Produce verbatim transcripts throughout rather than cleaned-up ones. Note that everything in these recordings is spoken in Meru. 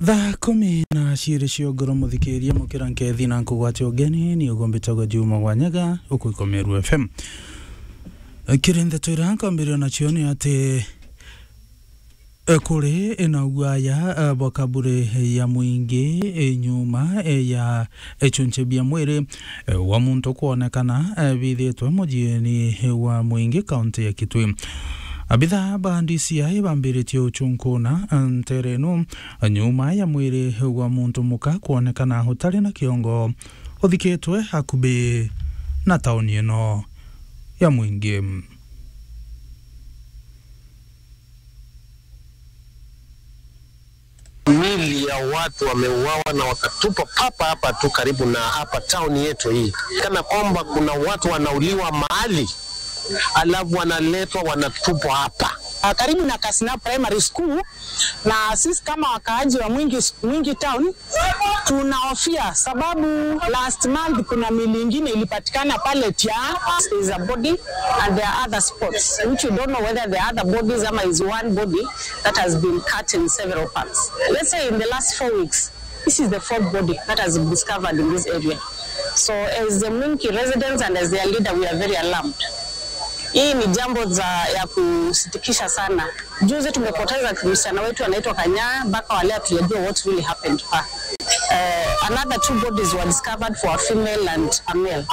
Thaa kumi na ciiri cia ugoro, muthikiria, mukira nkethi na nkugwate ugeni, ni ugumbitagwa Juma Wanyaga, uku Ikomeru F M. Kiri ndeto iria nkwambiria nacio ni ati, e, kuri na ugwaya, e, bwa kaburi ya mwingi, e, nyuma, e, ya, e, chunche bia mwiri, e, wa muntu kwonekana, e, bithitwe mujiini wa mwingi kaunti ya Kitui. Abitha ba D C I bambiritie uchunkuna, e, ntere ino, e, nyuma ya mwiri wa muntu muka kwonekana utari na kiongo uthikitwe hakubi na tauni ino ya mwingi. Mili ya watu wameuawa na wakatupa papa hapa tu karibu na hapa town yetu hii, kana kwamba kuna watu wanauliwa mahali alafu wanaletwa wanatupwa hapa. Ah, karibu na Kasina Primary School, na sisi kama wakaaji wa Mwingi, Mwingi Town, tunahofia sababu last month kuna mili ingine ilipatikana pale Tia. There is a body and there are other spots which we don't know whether there are other bodies ama is one body that has been cut in several parts. Let's say in the last four weeks, this is the fourth body that has been discovered in this area. So as the Mwingi residents and as their leader, we are very alarmed. Hii ni jambo za, ya kusitikisha sana. Juzi tumepoteza msichana wetu anaitwa Kanya, mpaka wa leo hatujajua what really happened to her. Uh, another two bodies were discovered for a female and a male.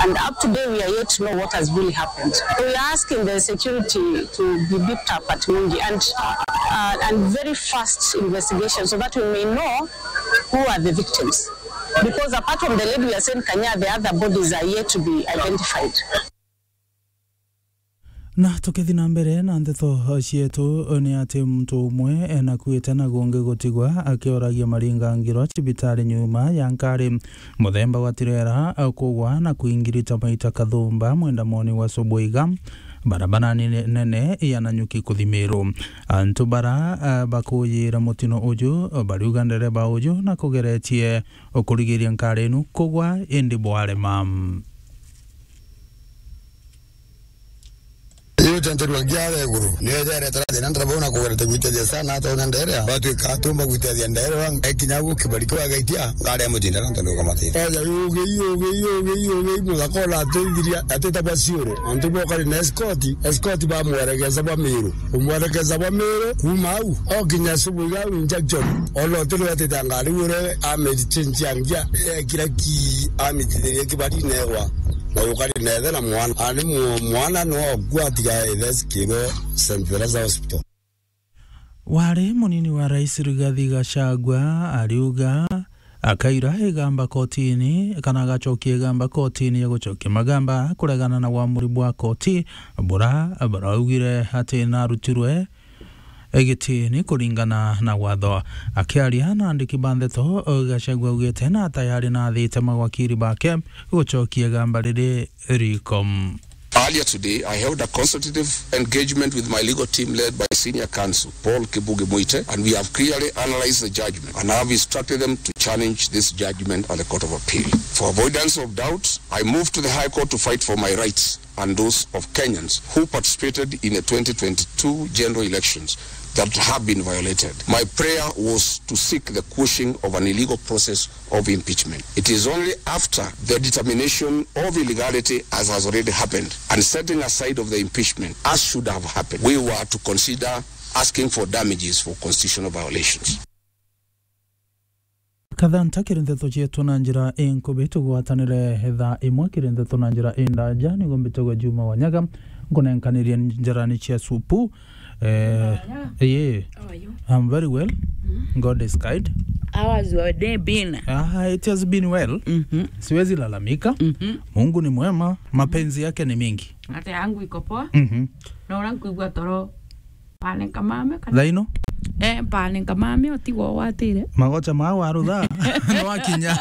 And up to today, we are yet to know what has really happened. We are asking the security to be beefed up at Mwingi and, uh, and very fast investigation so that we may know who are the victims. Because apart from the lady we are saying Kanya, the other bodies are yet to be identified. Na tukithi na mbere na ndeto cietu, ni ati muntu umwe enakuite na gungi gutigwa akioragia maringangiro cibitari nyuma ya nkari muthemba wa tirera kugwa na kuingirita maita kathumba mwendamoni wa Subuiga, barabara nene, nene ya Nanyuki kuthi Meru. Antu bara, ah, bakuyira mutino uju bariuga ndereba uju na kugeretie ukurigiria nkari inu kugwa indi bwarema. Iyo tenterua ngiara iguru, niyo ijaretera thina ndereba una kugerete gwitethia sana, ata una nderea, batwika tumba gwitethia nderea, ekinya gu kibari kiu agaitia, ngari ya mutinda na ntondu ukamate. Eja yugi, yugi, yugi, yugi, muthaka ona atithiria, atitagwa ciuru, antu bokari na escort, escort bamweregeza bwa Miru. Umwerekeza bwa Miru, kuma au, okinya Subuiga au injection. Ona utiri watita ngari ure amechinchia ngia, ekira ki amitithirie kibari negwa. Na yukari nethe na mwana. Ani mu-, mwana no okua atiga ethe sikirwe Saint Teresa Hospital. Wari munini wa Rais Rigathi Gachagua ariuga akaira igamba kotini, kana agacokia igamba kotini ya gucokia magamba kuregana na wamuri bwa koti bura buraugire ati narutirwe gitini kuringana na watho. Akiaria na andiki ba ndeto, Gachagua augite na tayari nathite mawakiri bake gucokia igamba riri riko. Earlier today, I held a consultative engagement with my legal team led by Senior Counsel Paul Kibugi Muite, and we have clearly analyzed the judgment and have instructed them to challenge this judgment at the Court of Appeal. For avoidance of doubt, I moved to the High Court to fight for my rights and those of Kenyans who participated in the twenty twenty-two general elections that have been violated. My prayer was to seek the quashing of an illegal process of impeachment. It is only after the determination of illegality, as has already happened, and setting aside of the impeachment, as should have happened, we were to consider asking for damages for constitutional violations. Kathanta kiri ndeto cietu na njira inkubi, tugwatanire thaa imwe kiri ndeto na njira indaja, niguo mbitagwa Juma Wanyaga, nkunenkaniria njarani cia supu. Eh, yeah. How are you? I'm very well. Mm. God is kind. How has your day been? Ah, it has been well. Mm-hmm. Siwezi lalamika. Mm-hmm. Mungu ni mwema, mapenzi yake ni mingi. Hata yangu iko poa. Mm-hmm. Na ura nkuigua toro. Pane nkamame kana? Thaino? Eh, pane nkamame, utigwo watire. Magocha ma warutha. Nwakinya.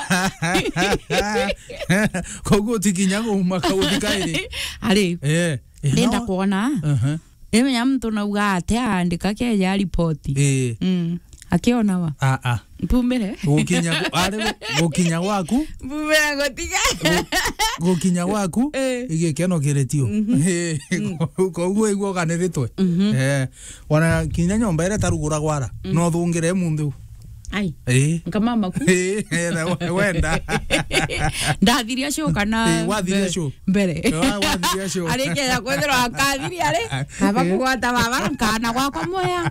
Koguo utikinya gumaka guthika iri. Ari. Eh, eh, ndenda no. Kuona. Aha. Imenya muntu nauga ate aandika keja ripoti. Eh. Mm. Akiona wa? Ah, ah. Mpumire. Gukinya gu-, ari gu-, gukinya gwaku? Mpumire gutiga. Gu-, gukinya gwaku, eh, igikeno kiritio. Mhm. Eh, mm, koguo igua ukaniritwe. Mhm. Eh, ona kinya nyomba iria taruguragwa ara, mm, no thungire munthi u. Ai. Eh. Nkamama ku. Eh, eh, na we-, wenda. Ndathiria show kana Eh, wathiria mbe-, show. Mbere. Eh, wa-, wathiria show. Arikeja kwethirwa akathiria ri, kaba kugwata baba, kana gwakwa moya.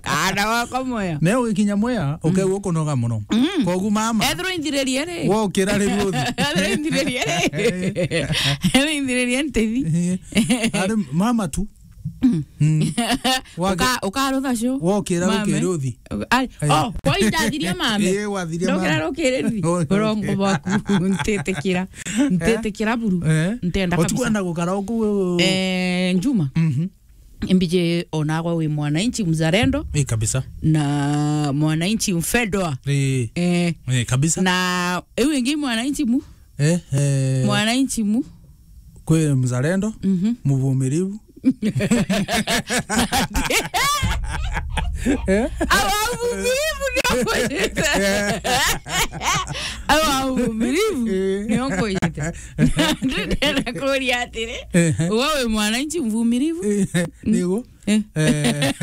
Kana gwakwa moya. Na ugikinya moya, ukegua ukunoga muno. Mm. Kogu mama. Ethirwa inthiririe ri. Wokira ri ruthi. Ethirwa inthiririe ri. Ethirwa inthiririe ntithi. Eh. Ari mama tu. Mm. Mm. Wage- Uka-, ukarutha show. Wokira Mame. Rukiri uthi. Ai, Eh. Oh, kwa indathiria mame. Eh, wathiria Ndokira mame. Rukiri uthi. Oh, okay. Urongo bwaku. Ntitikira. Ntitikira buru. Eh? Ntenda kabisa. Utikwenda gukara uku? Eh, Njuma. Mhm. Imbiji onagwa wi mwananchi mzalendo. Eh, kabisa. Na mwananchi mpendwa. Eh. Eh. Eh, kabisa. Na iu ingi mwananchi mu? Eh, eh. Mwananchi mu? Kwi mzalendo, Mhm. mvumilivu. Eh? Awa mvumilivu ndio kwete. Awa mvumilivu Eh. ndio kwete. Ndenda kuria atiri, Ehe. wewe mwananchi mvumilivu? Eh, niguo. Eh. Eh,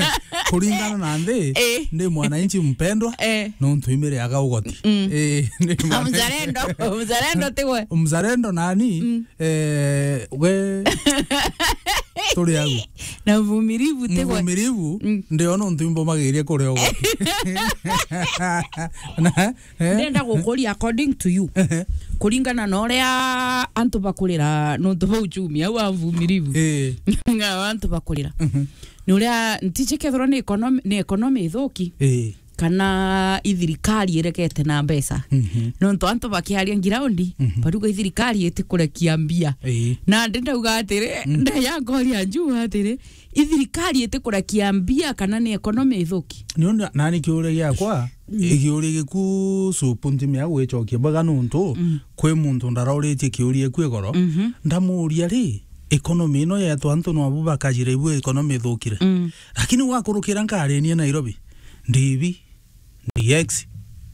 kuringana na nthi, Eh. ndi mwananchi mpendwa, Eh. nontu imiriaga ugoti. Mm. Eh, ndi Ah, mwananchi mzalendo, mzalendo tigwe. Mzalendo nani? Mm. Eh, we turi au. Na mvumilivu tigwe. Mvumilivu, Mm. ndio nontu imbomagiria kuria ugoti. Na, Eh? Ndenda gukuria according to you. Ehe. Kuringana na uria antu bakurira nontu bwa uchumi, au wa mvumilivu. Eh. Au antu bakurira. Mhm. Ni uria ntiji kethirwa ni economy, ni economy ithuki. Eh. Kana ithirikari iregete na mbeca. Mhm. Nontu antu bakiaria ngiraundi, Mhm. baruga ithirikari itikurekia mbia. Eh. Na ndi ndauga atiri, Mm. ndeya ngoria Njuma atiri, ithirikari itikurekia mbia kana ni economy ithuki? Niu na-, nani kiuria giakwa, Mm. ikiuria giku Supu ntimea gwicokia bwega nontu Mm. kwi muntu ndaroritie kiuria iku igoro, Mhm. ndamuria ri, economy ino yetu antu nwabu bakajire ibu economy ithukire. Mm. Lakini wakurukira nkarinie Nairobi, ndibi, ndi X,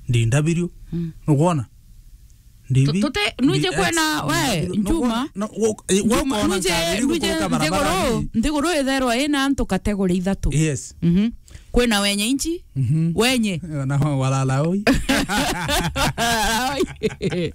ndi W. Mm. Nukwona? Ndi Tu-, bi-, tute-, nuje ndi kwena, X, we, ndi W. Njuma. No, wo-, eh, Njuma, wokona nuje, nkariri nuje guturuka nthiguru, barabarani. Nthiguru itherwa ina antu category ithatu. Yes. Mhm. Kwina wenye inchi, Mhm. wenye. Na walala oi. Walala oi.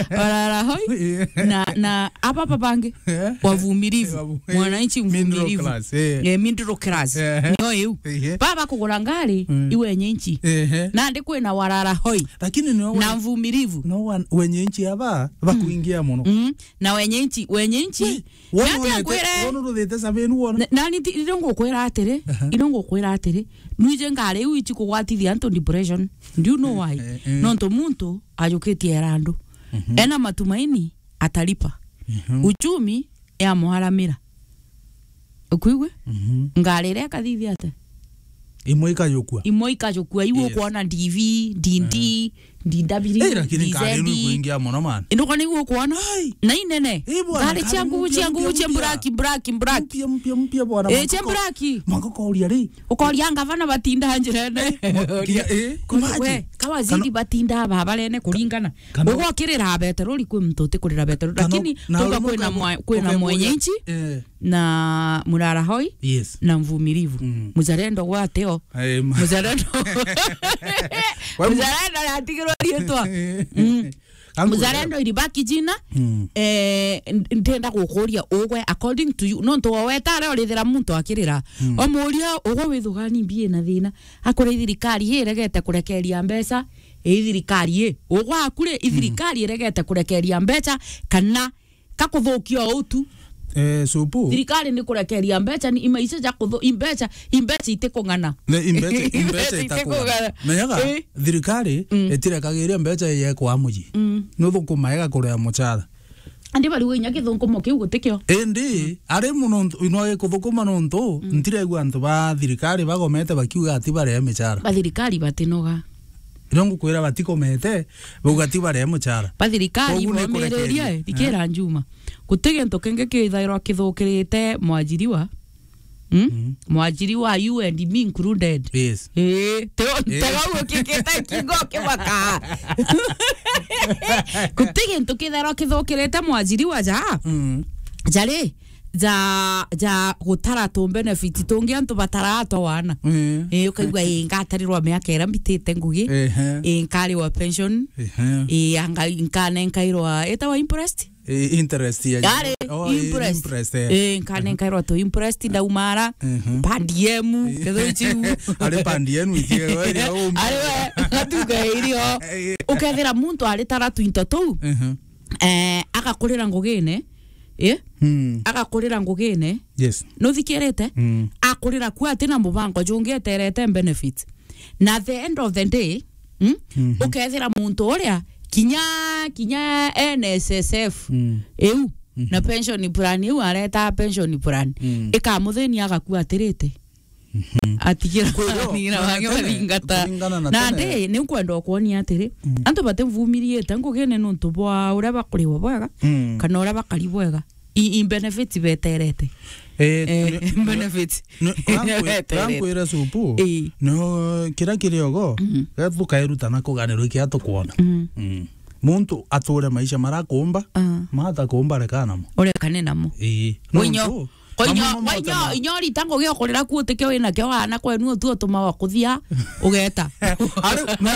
Walala hoi. Yeah. Na, na aba babangi, Yeah. wavumilivu. Wavu-, eh, Mwananchi middle mvumilivu. Class, eh. Eh, middle class. Eh. Nio iu. Eh. Baba kugura ngari, Mm. iwe nyenchi. Eh. Na ndi kwina walala hoi. Lakini no Na we-, mvumilivu. No one, wenye nchi aba, bakuingia muno. Mm. Na wenye nchi, wenye nchi. We, wona Nani unete, akwire? Wona uruthite sabenu wona? Na, nani ti, ino ngukwira atiri, Aha. ino ngukwira atiri, nwije ngari iu ichi kugwatithia antu depression. Do you know why? Eh, eh. Nontu muntu ajukitie era andu. Mhm. Ena matumaini atalipa. Mhm. Uchumi yamwaramira. Ukuigua? Mhm. Ngari iria ikathithia ate? Imwe ikajukua. Imwe ikajukua, iu Yes. ukuona D V, D D, Eh. D W, Eh, lakini D Z. Ngari ino ikuingia muno, man. Ino kwani iu ukuona? Ai. Na inene. Eh, bwana, Ngari ngari cia ngugu, mpya, cia ngugu, mpya, cia mpya. Black, black, black. Mpya, mpya, mpya, bwana, Eh, cia mwanka ko-, black. Mwanka koria ri. Ukoria ngavana batinda njirene. Eh, mwa-, Uria. Kinya, eh, Kuri-, imagine. We, kawaziri Kana batinda babarene kuringana. Kana Ugokirira beterori kwi muntu utikurira beterori. Kana Lakini na tuga uri kwina muka-, mwa-, kwina ukemuria, mwenye nchi. Eh. Na murara hoi Yes. na mvumilivu. Mm. Mzalendo gwateo. Eh, ma- Mzalendo. Wewe Mzalendo natigirwo rietwa. Mm. Kangu Mzalendo ilibaki jina. Mm. Eh, n-, ndenda gukuria ugwe according to you. Nontu waweta aria urithira muntu akirira. Mm. Omuria ugwe withugani mbie na thina. Akure thirikari iregete kurekeria mbeca. Ii thirikari ii. Ugwe akure ithirikari iregete kurekeria mbeca kana kakuthukia o utu. Eh, Supu. Thirikari ni kurekeria mbeca, ni imaica ja kuthu-, imbeca, imbeca itikung'ana. Ne, imbeca, imbeca Imbeca itakung'ana. itikung'ana. Menyaga, Eh. thirikari Mm. itirekagiria mbeca iyekwa muji. Mm. Nuthukuma igakurea mucara. Andi bariuga inya kithungumo kiu gutikio. Indi, Mm. ari muno ntu-, no ikuthukuma nontu, Mm. ntiregua antu ba thirikari bagomete bakiuga ati barehe micara. Ba thirikari batinoga. Ino ngukwira batikomete, bauga ti barehe mucara. Ba thirikari Koguo ni bomiririe, kurekeria. Eh, thikira Njuma. Guti gintu kingi kithairwa kithukirite mwajiriwa. Hmm? Mm. Mwajiriwa, you and me included. Yes. Eh, te-, Eh. tega ugikikite kingo kibaka. Guti gintu kithairwa kithukirite mwajiriwa ja. Mm. Jari, ja, ja gutara tu benefit tungi antu batara twa wana. Eh. Eh, ukaigua, "Eh, ngatarirwa miaka ira mbitite ngugi. Ehe. Eh, nkariwa pension. Ehe. Eh, anga-, nkanenkairwa, itawa imprest?" Eh, interest ya Yari, oh, eh, imprest. Imprest, eh. Eh, nkanenkairwa tu imprest, ndaumara, Mhm. per diem, Eh. ketho ichiu. Ari per diem ichie, we, ria umba. Ari we, ngatuga irio. Eh. Ukethira muntu aritara twinto tuu, Mhm. eh, agakurira ngugine, eh? Hmm. Agakurira ngugine. Yes. Nuthikirite? Hmm. Akurira ku ati na mubango jungi eterete benefits. Na the end of the day, mm, Mhm. ukethira muntu uria kinya, kinya N S S F Mm. iu, Mhm. na pension plan iu areta pension plan, Mm. ikamuthinia agakua atirite. Mhm. Atigira Kwiro, nira na wange tene, bathingata. Kuringana na Na tene. Ndi, ni nkwenda ukwonia atiri, Mm. antu batimvumiriite ngugine nuntu bwa uria bakuriwa bwega, Mm. kana uria bakari bwega. I, i benefit beterete. Eh, Eh, ni, benefit. ni, rankwi-, Beterete. Rankwire supu. Eh. No, kira kiri ogo, Mhm. ga tukairuta na kuganirwa ikia tukwona. Mhm. Mm. Muntu ature maisha marakumba, Ah. mata kumba reka namo. Urekane namo. Ii. Winyo, Nontu, koinyo, mamo mamo koinyo, tema. Inyo rita ngugi okurira ku utikio wina kio wana kwenu utu utuma wa kuthia, ugeta. Ari, na,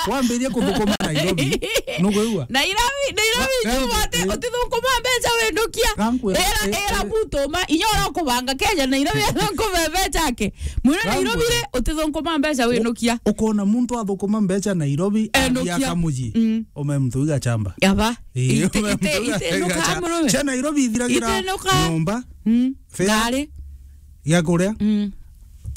wambirie kuthukuma Nairobi, nukwigua? Nairobi, Nairobi, Wa-, nyuma ati, eh, utithukuma mbeca windukia. Gankwira, Era, eh, era eh. Mutuma, inyo ura ukubanga Kenya, Nairobi, athukuma mbeca ake. Mwira Gankwira. Nairobi ri, utithukuma mbeca windukia. Ukona muntu athukuma mbeca Nairobi, Endukia. Athia kamuji. Mm. Ume mtu iga chamba. Yaba. Eh, Ite, ume ite, mtu iga ite, nuka chamba. Murume. Cia Nairobi ithiragira Ite nuka. Nyomba. Mm. Fare. Ngari. Gia kuria. Mm.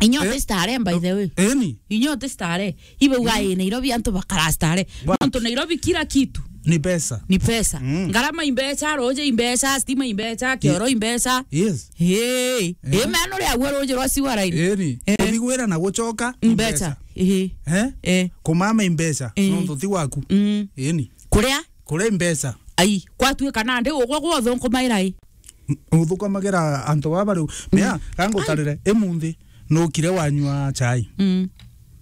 Inyo Eh? Starehe, by the way. Eni? Inyo Starehe. Ibe uga, Mm. Eh, Nairobi antu bakara starehe. What? Nontu Nairobi kila kitu Ni pesa. Ni pesa. Mm. Ngarama imbeca, roje imbeca, stima imbeca, kioro imbeca. Yes. Hey. Eh? Eh, meno ria gwe roje rwa sewer line. Eni. Eh. Kuthigwira na gucoka Imbeca. Imbeca. Eh. Eh? Eh. Kumama imbeca. Eh. Nontu ti waku. Mm. Eni. Kuria? Kuria imbeca. Ai, kwatuika nandi ugwe gwe uthunkumaira i? Uthukamagira antu baba riu. Mm. Mea, kangutarire, imunthi, nukire wanyua chai. Mm.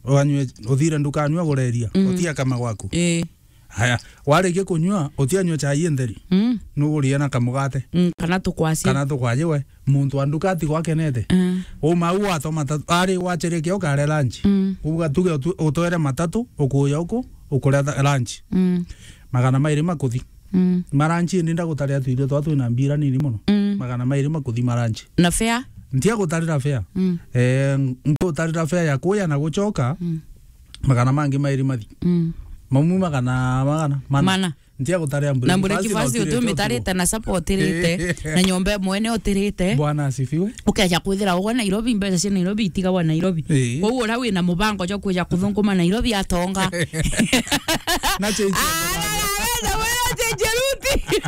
Wanyue, uthire ndukanyua gureria, Mm. utia kama gwaku. Eh. Haya, warikia kunyua, utianyua chai intheri. Mm. Nugurie na kamugate. Mm, kana tukwasi. Kana tukwaje we, muntu wa nduka ati gwakenete. Mm. Uma u watwa matatu, ari wacherekia ukare lunch. Mm. Uga tuge utu-, utwere matatu, ukuya uku, ukuria tha-, lunch. Mm. Magana mairi makuthi. Mm. Maranchi ni ndagutaria tuirio twa twina mbira nini muno. Mm. Magana mairi makuthi maranchi. Na fare? Ntia gutarira fare. Mm. Eh, ngutarira fare ya kuya na gucoka. Mm. Magana mangi mairi mathi. Mm. Mamu magana, magana, mana. Mana. Ntia gutarira Na breakfast breakfast na utirite utumitarite utuku. Na supper utirite. Na nyomba mwene utirite. Bwana asifiwe. Ukeja kwithira ugwe Nairobi, mbeca cia Nairobi itigagwa Nairobi. Ii. Kwou uria wina mubango jwa kwija kuthunguma Nairobi atonga. Na change ya Ah, mubango. Na, na, na, na, change ya ruti.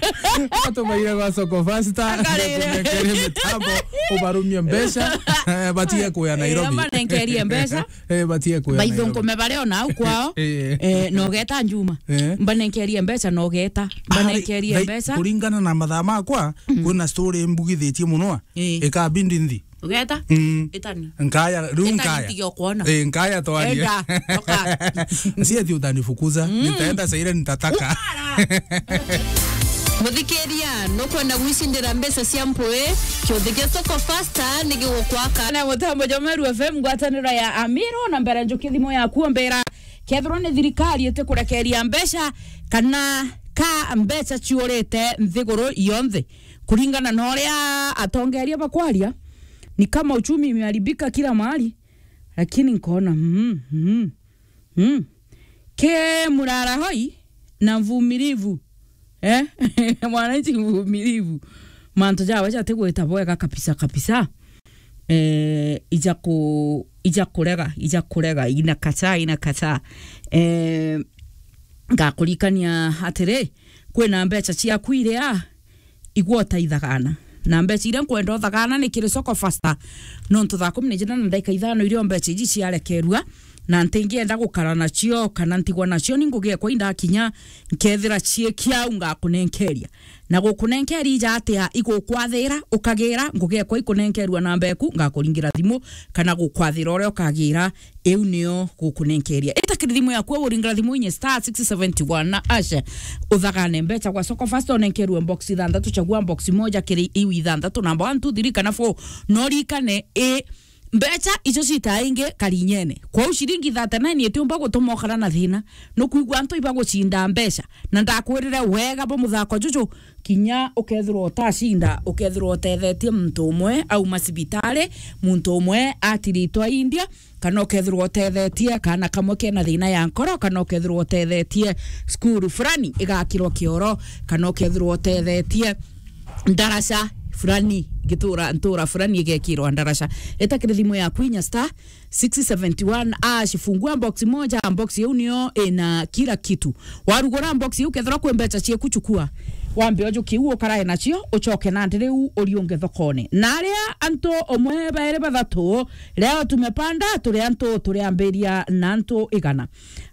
Atumaire gwa Soko Faster. Akarire. Ngekunenkerie mitambo, ubarumie mbeca, eh, batige kuya Eh, Nairobi. Amba nenkerie mbeca. Eh, batige kuya Nairobi. Baithungume baria ona au kwao. Eh. Eh, nogeta njuma. Eh. Mbanenkerie mbeca nogeta. Mbanenkerie Ari, mbeca. Kuringana na mathaa makwa, Mm. kwina story mbugithitie muno. Eh. Ikabindi nthi. Ugeta? Mm. Itani. Nkaya, riu Itani nkaya. Ntige kuona. Eh, nkaya twarie. Enda, toka. Sieti utanifukuza. Mm. Nitaenda saa ile nitataka. Ukara. Muthikiria, nukwenda gwicindira mbeca cia mpui? Kiuthi kia Soko Faster ni gigukwaka. Na mutambo jwa Meru F M, ngwataniro ya Amiro, na mbere njuki thimu yaku mbira. Kethirwa ni thirikari itikurekeria mbeca, kana ka mbeca ciurite nthiguru yonthe. Kuringana na uria atongeria bakwaria, ni kama uchumi imeharibika kila mahali, lakini nkaona, mm, mm, mm. Ke murara hoi na mvumilivu. Eh? Mwananchi mvumilivu. Mantu jawe jatigwita bwega kabisa kabisa. Eh, ija ku-, ija kurega, ija kurega, ina kacha, ina kacha. Eh, ngakurikania atiri, kwina mbeca ciaku iria igwa utaithagana. Na mbeca iria nkwenda uthagana ni kiri Soko Faster. Nontu thaa kumi na ijiri na ndagika ithano irio mbeca iji ciarekerua, na ntingienda gukara nacio kana ntigwa nacio, ni ngugi ekwa indakinya, nkethira ciiki au ngakunenkeria. Na gukunenkeria ija atia igukwathira, ukagira, ngugi ekwa ikunenkerua namba eku, ngakuringira thimu, kana gukwathira uria ukagira, iu nio gukunenkeria. Ita kiri thimu yaku, uringira thimu inye star six seventy one na hash, uthagane mbecha gwa Soko Fasta, unenkerue box ithanthatu, chagua box moja kiri iu ithanthatu, namba one, two, three kana four, no rikane i mbecha icio cita ingi karinyene. Kwou ciringi thirty-nine itiumba gutuma ukara na thina. Nukwigua antu ibagucinda mbecha. Na ndakwirire wega bwa muthako juju, kinya ukethirwa utacinda, ukethirwa utethetie muntu umwe auma cibitari, muntu umwe atiritwa India, kana ukethirwa utethetie kana kamwe kena thina ya nkoro, kana ukethirwa utethetie cukuru fulani igakirwa kioro, kana ukethirwa utethetie ndaraca fulani, gitura, ntura fulani igekirwa ndaraca. Eta kiri thimu yaku inya star six seventy one hash, fungua box moja, box iu nio ina kila kitu. Warugura box iu, kethirwa kwi mbecha cieku, chukua. Wambe ujukie u ukarae nacio, ucoke nandi riu uriunge thokone. Na aria antu umwe, bairi, bathatu, leo tumepanda, turi antu, turiambiria na antu igana.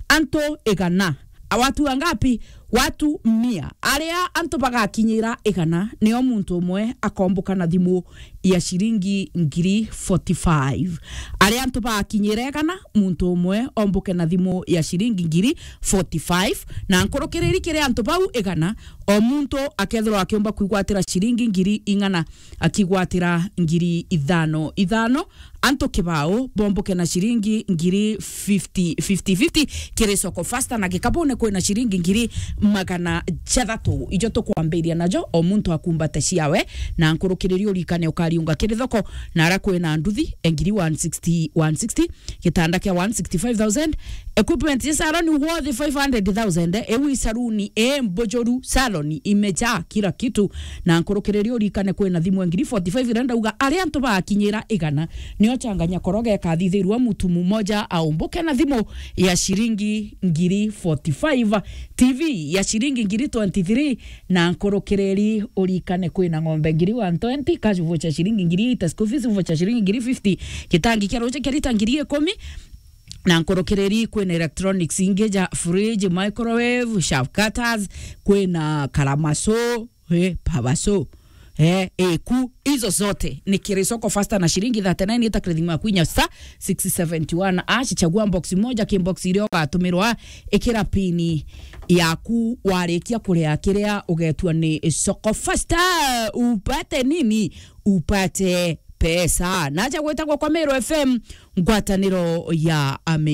Antu igana. Watu wangapi? Watu mia. Aria antu bagakinyira igana, nio muntu umwe akomboka na thimu ya ciringi ngiri forty-five. Aria antu bagakinyira igana, muntu umwe omboke na thimu ya ciringi ngiri forty-five. Na nkurukiriri kiri antu bau igana, o muntu akethirwa akiumba kwigwatira ciringi ngiri ing'ana, akigwatira ngiri ithano ithano. Antu kibao bomboke na ciringi ngiri fifty, fifty fifty kiri Soko Fasta, na gikabune kwina ciringi ngiri magana jathatu. Ijo tukwambiria najo, o muntu akumbate ciawe, na nkurukiriri urikane ukariunga kiri thoko, na ara kwina nduthi, e ngiri one sixty, one sixty, gitanda kia one sixty-five thousand, equipment ya salon worth five hundred thousand, ewi saluni e mbujuru, salon imejaa kila kitu, na nkurukiriri urikane kwina thimu e ngiri forty-five, iria ndauga aria antu bakinyira igana, nio changanya koroge kathithirwa mutu mumoja aumbuke na thimu ya ciringi ngiri forty-five, T V ya ciringi ngiri twenty-three, na nkurukiriri urikane kwina ng'ombe ngiri one twenty, cash voucher ciringi ngiri eighty, school fees voucher ciringi ngiri fifty, gitangi kia ruji kia lita ngiri ikumi, na nkurukiriri kwina electronics ingi ja fridge, microwave, shaft cutters, kwina karamaso, eh, pabaso, eh, eku, izo zote ni kiri Soko Fasta na ciringi thirty-nine, ita kiri thimu yaku inya star six seventy one hash, chagua box moja, ki box iria ugatumirwa, ikira pini yaku, warikia kuria kiria ugetua ni Soko Fasta, upate nini? Upate pesa. Naja gwitagwa kwa Meru F M, ngwataniro ya Ame.